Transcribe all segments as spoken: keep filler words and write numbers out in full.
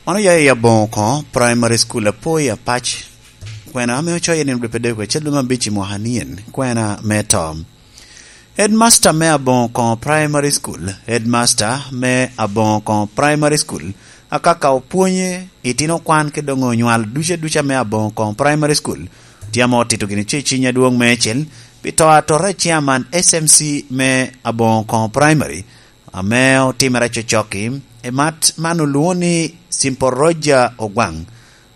Ono ya i Aboŋo Koŋo Primary School apo i Apac, kwena ame ocoyo i nino dwe pyeradek wiye acel dwe me abic i mwaka nien, kwena me to. Headmaster me Aboŋo Koŋo Primary School, Headmaster me Aboŋo Koŋo Primary School, akaka opwonye, itino kwan ki doŋ onywal duca duca me Aboŋo Koŋo Primary School, tye ame otito gini ce ciny adwoŋ meicel pi to atota a chairman S M C me Aboŋo Koŋo Primary, ame otimere cocokki, i mat man olwoŋo ni Simple Roger Ogwaŋ,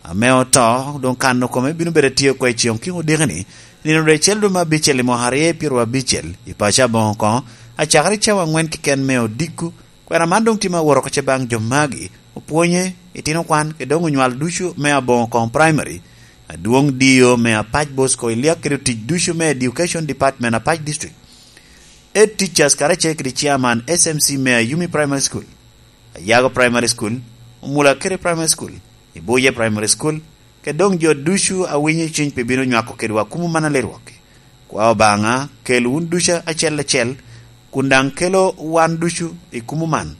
ame oto, doŋ kano kome bino bedo atye oko i ceŋ kiko diki-ni, nino dwe acel dwe me abicel i mwaka aryo pyeraryo abicel, i paco Aboŋo Koŋo, acakere cawa aŋwen keken me odiko. Kwena man doŋ tye me awot oko ce baŋ jo magi, opwonye, itino kwan, kede doŋ onywal ducu me Aboŋo Koŋo Primary, adwoŋ D O me Apac Bosco, i lyek kede otic ducu me Education Department Apac District. Head teachers karacel kede chairman S M C me Ayumi Primary School, Ayago Primary School, Omulakere Primary School, Ibuye Primary School, kede doŋ jo ducu a winyo cwiny pi bino nywako kedwa kumo man a lirwokki. Kwa Obaŋa kel wun ducu acel acel, kun daŋ kelo wan ducu i kumo man.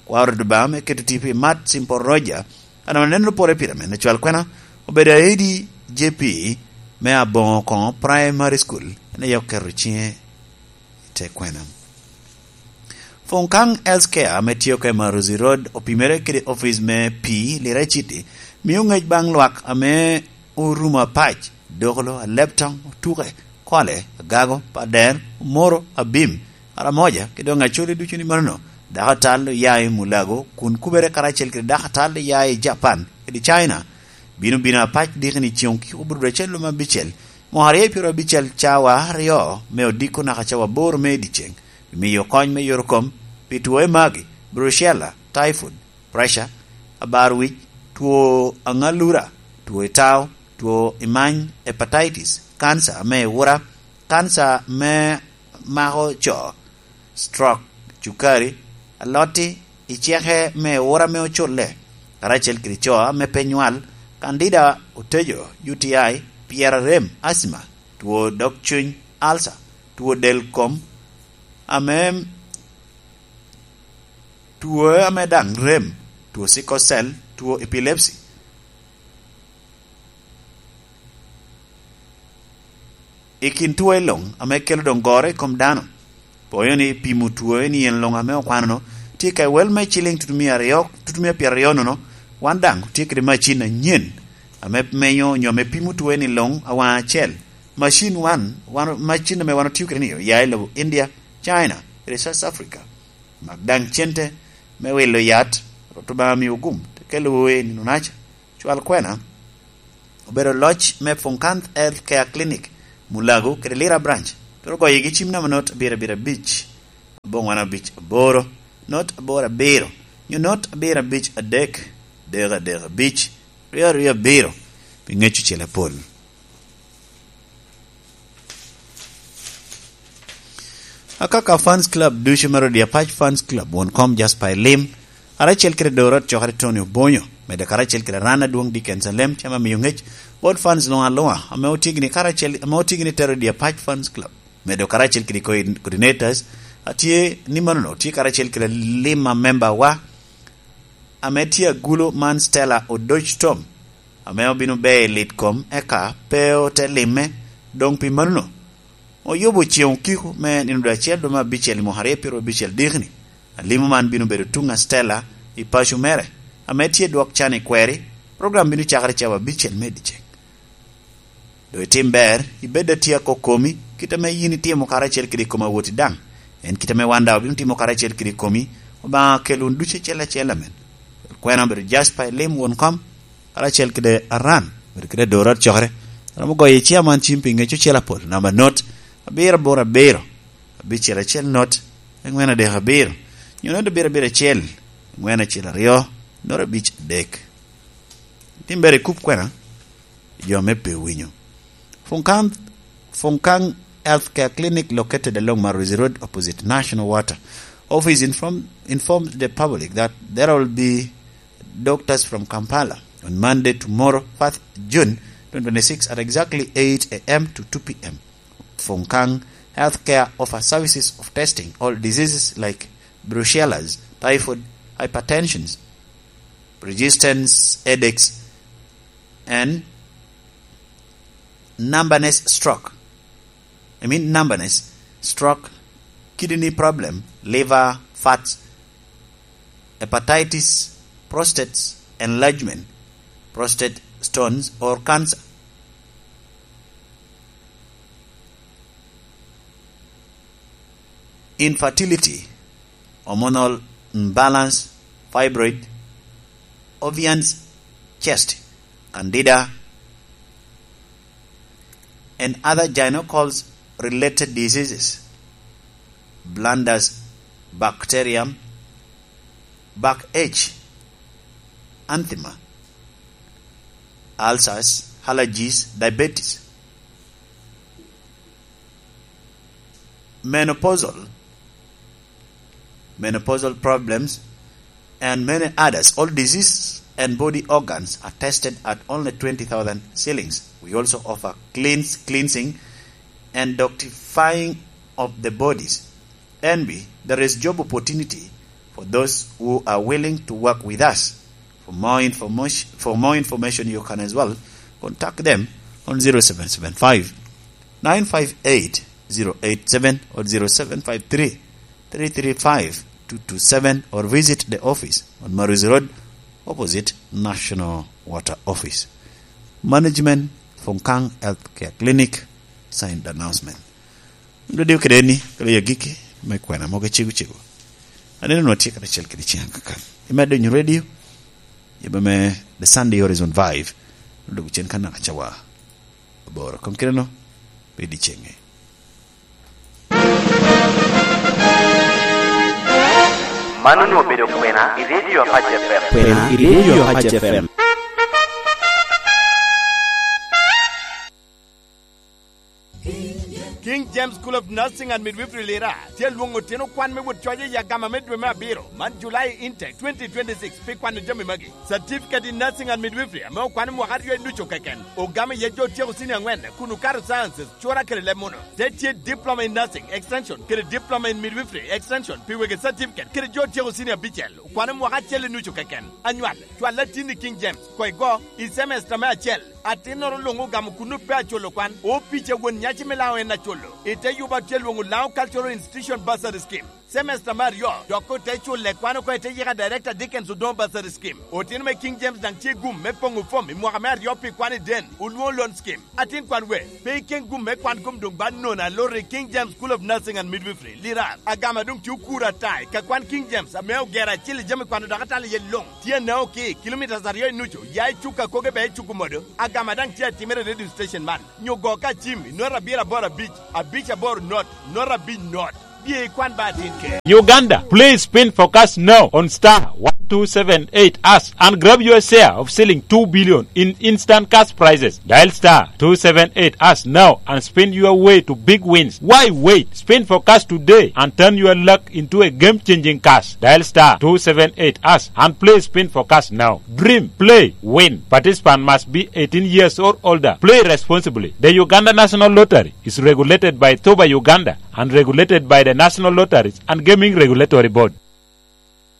Kwa Rwot Obaŋa me keto tipo i mat Simple Roger, an aneno pore pire me cwal kwena, obedo aidi J P me Aboŋo Koŋo Primary School, en aye oketo ciŋe i te kwena. Funkaŋ Healthcare ame tye oko i Maruzi Road opimere kede opic me pii Lira City, mio ŋec baŋ lwak ame orumo Apac, Dokolo, Aleptoŋ, Otuke, Kole, Agago, Pader, Omoro, Abim, Aramoja, kede doŋ Acholi ducu ni manono, dako atal oya i Mulago, kun kubere karacel kede dako atal oya i Japan kede China, bino bino Apac dikini ceŋ kiko bro dwe acel lume abicel, mwaka aryo pyeraryo abicel, cawa aryo me odiko naka cawa aboro me i dyeceŋ, pi miyo kony me yore kom pi two magi, brucella, typhoid, pressure, abar wic, two aŋalura, two itao, two imany, hepatitis, kanca me iwura, kanca me mako co, stroke, cukari, alotti, iceke me iwura me oculle, karacel kede co ame pe nywal, kandida, otejo, U T I, pyera rem, asthma, two dog cuny, ulcer, two del kom, ame two ame daŋ rem, two sickle cell, two epilepsy. I kin two i luŋ ame kelo doŋ goro i kom dano, poyo ni pimo two ni en luŋ ame okwano-nu tye ka i wel me ciliŋ tutumia aryo, tutumia pyeraryo nono, wan daŋ tye kede macin anyen ame menyo onyo ame pimo two ni luŋ awaŋ acel. Macin wan, wan, macin ame wan otio kede ni oya i lobo India, China, kede South Africa. Mak daŋ cente me wilo yat, Rwot Obaŋa miwu gum, te kelo woo i nino-naca. Cwal kwena, obedo loc me Funkanth Health Care Clinic, Mulago, kede Lira Branch, twero goyogi cim namba not abiro abiro abic, abongwana abic aboro, not aboro abiro, nyo not abiro abic adek, dek adek abic, ryo aryo abiro, pi ŋec ocele apol. Akaka Fans Club ducu me Rodi Apac Fans Club, won kom Jasper Elim, karacel kede Dorot Cokere Tony Obonyo, medo karacel kede Ran Adwong Dickens Alem, cama miyo ŋec, bot fans luŋ aluŋa, ame otigni karacel, ame otigni te Rodi Apac Fans Club, medo karacel kede co-, coordinators, atye ni manono, tye karacel kede lima member wa, ame tye agulu man Stella Odoc Tom, ame obino ber i lit kom, eka pe ote limme, doŋ pi manono, oyubo ceŋ okiko me nino dwe acel dwe me abicel i mwaka aryo pyeraryo abicel dikni. Alimo man bino bedo tuŋ a Stella i paco mere, ame tye dwok can i kweri. Program bino cakere cawa abicel me dyeceŋ. Doŋ itim ber, ibed atye akokomi, kit ame yin itimo karacel kede i kom awoti daŋ. En kit ame wan daŋ obino timo karacel kede i komi, Obaŋa kel wun ducu acel acel amen. Kwena obedo Jasper Elim won kom, karacel kede Aran, obedo kede Dorot Cokere. Romo goyo i chairman cim pi ŋec ocel apol, namba not, abiro aboro abiro, abicel acel not, angwen adek abiro, nyo not abiro abiro acel, angwen acel aryo, not abic adek. Tim ber i kup kwena, jo me pe winyo. Funkang, Funkang Healthcare Clinic located along Maruzi Road opposite National Water. Office inform, informed the public that there will be doctors from Kampala on Monday, tomorrow, first June twenty twenty-six, at exactly eight a.m. to two p.m. Funkang Healthcare offer services of testing all diseases like brucellas, typhoid, hypertensions, persistent headaches, and numbness stroke. I mean numbness stroke, kidney problem, liver fats, hepatitis, prostate enlargement, prostate stones or cancer. Infertility, hormonal imbalance, fibroid, ovarian cyst, candida, and other gynecologist related diseases, blindness, bacterium, backache, asthma, ulcers, allergies, diabetes, menopausal, menopausal problems, and many others. All diseases and body organs are tested at only twenty thousand shillings. We also offer cleans, cleansing and detoxifying of the bodies. N B, there is job opportunity for those who are willing to work with us. For more information, for more information, you can as well contact them on zero seven seven five, nine five eight, zero eight seven or zero seven five three, three three five, two two seven, or visit the office on Maruzi Road, opposite National Water Office. Management, Funkang Healthcare Clinic, signed announcement. Dodiyo kede ni, kede ya giki me kwena mogo cego cego. Aneno nwa tye kede acel kede ceng kaka. Imedo nyo radio, ibe me The Sunday Horizon Vive, dok cen ka naka cawa aboro. Kong kede no, pe di cenge. Man onwoŋo obedo kwena i Radio Apac F M. Kwena i Radio Apac F M. King James School of Nursing and Midwifery Lira tye alwoŋo otino kwan me wot coc i agama me dwe me abiro, man July intake twenty twenty-six, pi kwano jami magi. Certificate in Nursing and Midwifery ame okwano mwaka aryo i nucu keken, ogamo iye jo otyeko senior angwen kun okato sciences, cura kede leb muno. Te tye Diploma in Nursing Extension kede Diploma in Midwifery Extension pi wegi certificate kede jo otyeko senior abicel, okwano mwaka acel i nucu keken. Anywal, cwal atin i King James, koŋ igo, i semester me acel. Atinnoro luŋ ogamo kun ope aculo kwan, opic a won nyaci me Laŋo en aculo. I te yuba tye lwoŋo Laŋo Cultural Institution Bursary Scheme. Semester me aryo, dok ote culle kwan oko i te yika Director Dickens Odongo Bursary Scheme. Otino me King James daŋ tye gum me poŋo fom i mwaka me aryo pi kwan i den, olwoŋo loan scheme. Atin kwan we, pe ikeŋ gum me kwan kom doŋ ba nono aloro i King James School of Nursing and Midwifery, Lirar. Agama doŋ tye okuro ata i ka kwan King James ame ogero acil i jami kwano dok atalo iye luŋ. Tye anao ki, kilometres aryo i nucu, ya i cuk akoge bea i cuk omodo. Agama daŋ tye atimere i radio station man. Nyo go ka cim i not abiro aboro abic, abic aboro not, not abic not. Bye ikwan ba atin ke. Uganda, please spin for cash now on star one two seven eight hash and grab your share of shilling two billion in instant cash prizes. Dial star two seven eight hash now and spin your way to big wins. Why wait? Spin for cash today and turn your luck into a game-changing cash. Dial star two seven eight hash and play spin for cash now. Dream, play, win. Participant must be eighteen years or older. Play responsibly. The Uganda National Lottery is regulated by Toba Uganda and regulated by the National Lotteries and Gaming Regulatory Board.